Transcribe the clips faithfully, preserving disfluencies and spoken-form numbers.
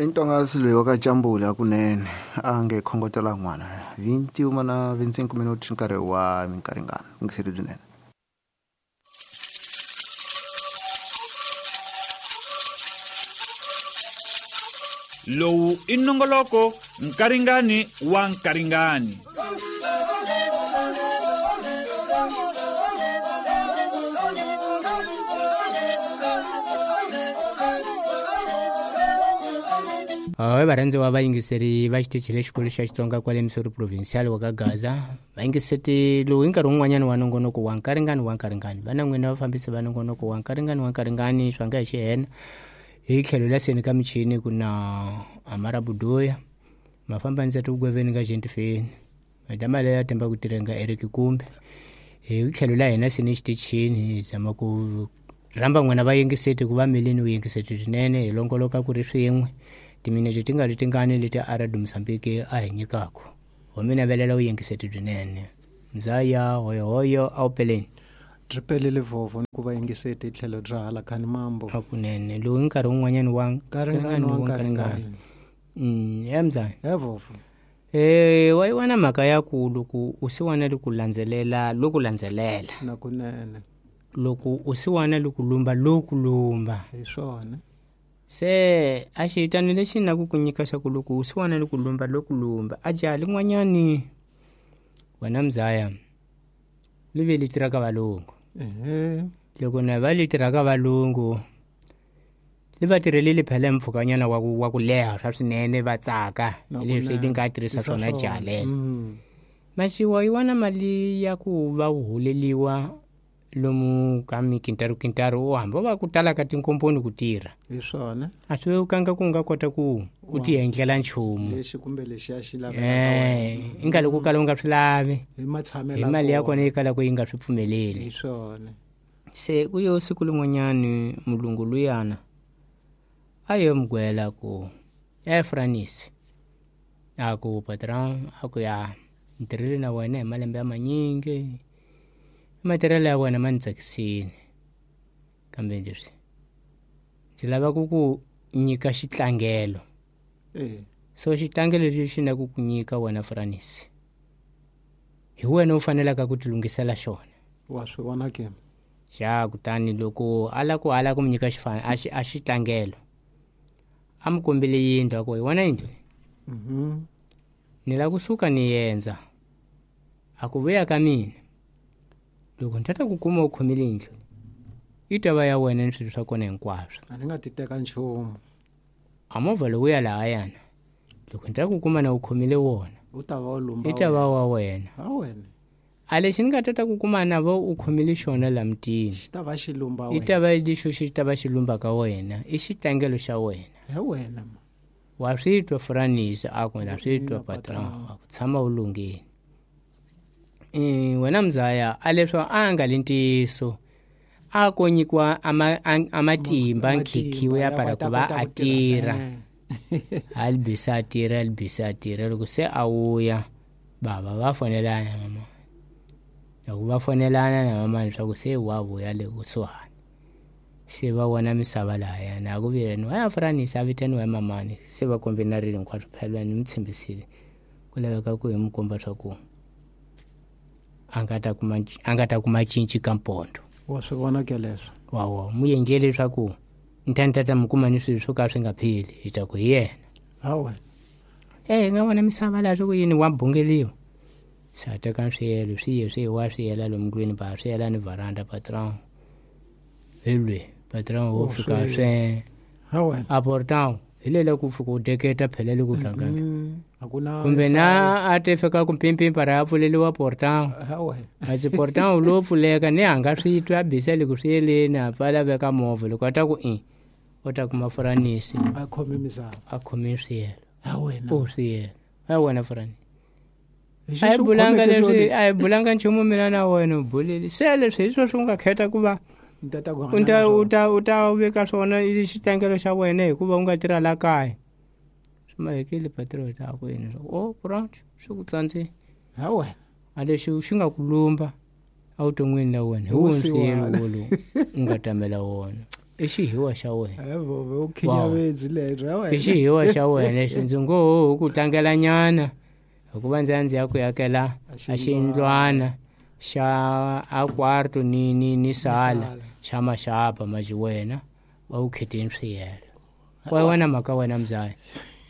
Intonga loyi ka Jambula kunene a nge khongotela n'wana hi ntiuma na vhinte minuti nkarhi wa minkaringana ngiseri byinene. Lowu i nongoloko nkaringani wa nkaringani. Oi varhandziwa vayingiseri va xitichi lexikulu xa Xitsonga kwale Missouri Provincial wa ka Gaza. Vayingiseti lowu hi nkarhi wun'wanyana wa nongonoko wa nkaringani wa nkaringani. Va na n'wina vafambisi va nongonoko wa nkaringani wa nkaringani swa nga hi xihena. Hi tlhelo la seni ka michini ku na Amara Budoya, mafamba ndzati kugweveni ka Gentifeni, madama leya temba ku tirhenga Eric Kumbe. Hi tlhelo la hina seni xitichini hi zama ku rhamba n'wina vayingiseti ku va milini vuyingiseti swinene hi longoloka ku ri swin'we. Timinete ti nga ri tingani leti a ra Mozambique a hi nyikaka. Ho mi navelela vuyingiseti byinene. Ndzaya hoyohoyo a wu peleni. Tripelele vovo ku va yingiseti hi tlhelo ra hala khani mambo. Hakunene lowu hi nkarhi wun'wanyana wa nkaringani wa nkaringani. Mm, ya mzaya. Ya vovo. Eh, wa yi vona mhaka ya ku loko u si wana ku landzelela loku landzelela. Na kunene. Loko u si wana ku lumba loku lumba. Hi swona. Se a xitani lexi na ku ku nyika xa ku loko u si wana ku lumba loku lumba a jaha lin'wanyani wena mzaya li ve li tirhaka valungu. Ehe. Loko na va li tirhaka valungu li va tirhelile phela mpfhukanyana wa ku wa ku leha swa swinene va tsaka leswi li nga tirhisa swona jaha lelo. Masiwa yi wana mali ya ku va u holeliwa lomu ka mikintaru kintaru u hamba va ku tala ka tinkomponi ku tirha. Hi swona. A swi vekanga ku nga kota ku u ti endlela nchumu. Lexi kumbe lexi a xi laveka. Eh, i nga loko kala u nga swi lavi. Hi matshamelo. Hi mali ya kona yi kala ku yi nga swi pfumeleli. Hi swona. Se ku yo siku lin'wanyani mulungu luyana a yo mugwela ku eh Franis. A ku patron a ku ya ntirhile na wena hi malembe ya manyingi. Matirhelo ya wena ma ni tsakisile kambe leswi ndzi lava ku ku nyika xitlangelo. Eh. So xitlangelo lexi na ku ku nyika wena Franis hi wena u fanelaka ku tilunghisela xona. Wa swi vona ke? Xa kutani loko a la ku ala ku mi nyika xifana a xi a xitlangelo a mi kombile yindlu a ku hi wona yindlu. Mhm. Ni la kusuka ni yendza a ku vuya ka mina loko ni tata ku kuma u khomile yindlu yi ta va ya wena ni swilo swa kona hinkwaswo. A ni nga ti teka nchumu. A movha lowu ya lahayana loko ni ta ku kuma na u khomile wona u ta va u lumba yi ta va wa wena. Ha wena. A lexi ni nga tata ku kuma na va u khomile xona la mutini xi ta va xi lumba wena. Yi ta va lexo xi ta va xi lumba ka wena i xitlangelo xa wena. He wena. Wa swi twa Franis a ku na swi twa patron a ku tshama u lunghile. Eh wena mzaya a leswo a nga le ntiyiso a ko nyikiwa amatimba nkhikhiwe ya para ku va a tirha. A libisa a tirha a libisa a tirha loko se a wuya bava va fonelana mama. Loko va fonelana na mama leswaku se wa vuya le kusuhani. Se va vona misava lahayana a ku vileniwa ya Franis a vitaniwa hi mamani se va kombinarile hinkwaswo phela ni mi tshembisile ku laveka ku hi mi komba swa ku a nga ta kuma a nga ta kuma cinci ka mpondo. Wa swi vona ke leswo. Wa wa mu endlele leswaku ni ta ni ta ta mi kuma ni swilo swo ka swi nga pheli hi ta ku hi yena. Ha wena. Eh hi nga vona misava laha swa ku yini wa bungeliwa. Se a teka swiyelo swi ye swi wa swi yela lomu ndlwini ba swi yela ni varanda patron. Hi lwe patron wo fika swe. Ha wena. A portão hi le ku fika u deketa phela le ku hlangana. Hakuna kumbe na a te fika ku pimpimpa ra pfuleliwa portão. Ha wena. A si portão lowu pfuleka ni hanga swi twa bisa le ku swi yeleni a pfala veka movha loko a ta ku i u ta kuma Franisi a khome misava a khome swiyelo. Ha wena. U swiyelo. Ha wena Franisi. A hi bulanga leswi a hi bulanga nchumu mina na wena u bulile se leswi hi swo swi nga khetha ku va u ta u ta u ta veka swona i xitlangelo xa wena hikuva u nga tirha la kaya. Swi mahekile patrol ta ku yini swa o branch swi ku tsandzile. Ha wena. A lexi xi nga ku lumba evuton'wini la wena hi Hi wona nswilo vusiwana. wolowu u nga tamela wona i xihiwa xa wena Eh, vove u khinyavezi lebyo ya i wena xihiwa xa wena lexi ndzi ngo ho ku tlangela nyana hikuva ndzi ya ndzi ya ku yakela A a xiyindlwana xa a kwarto ni ni ni sala sala. xa maxapa maji wena va wu kheteni swiyelo kwa wena mhaka wena mzaya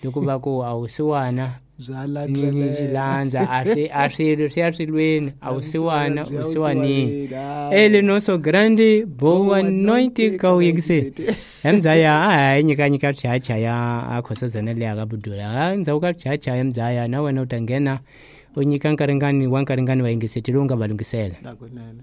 loko va ku a wu siwana bya ni ni landzelela xilandza a swi a swilo swi ya swilweni a wu siwana Bya u siwanini siwanini, ele nosso grande boa noite ka u yingiseni emzaya a hi nyika nyika chacha ya a khosazana leya ka budula a ndzhaku ka chacha emzaya na wena u ta nghena u nyika nkaringani wa nkaringani va yingiseti lowu nga va lunghisela Nakunene.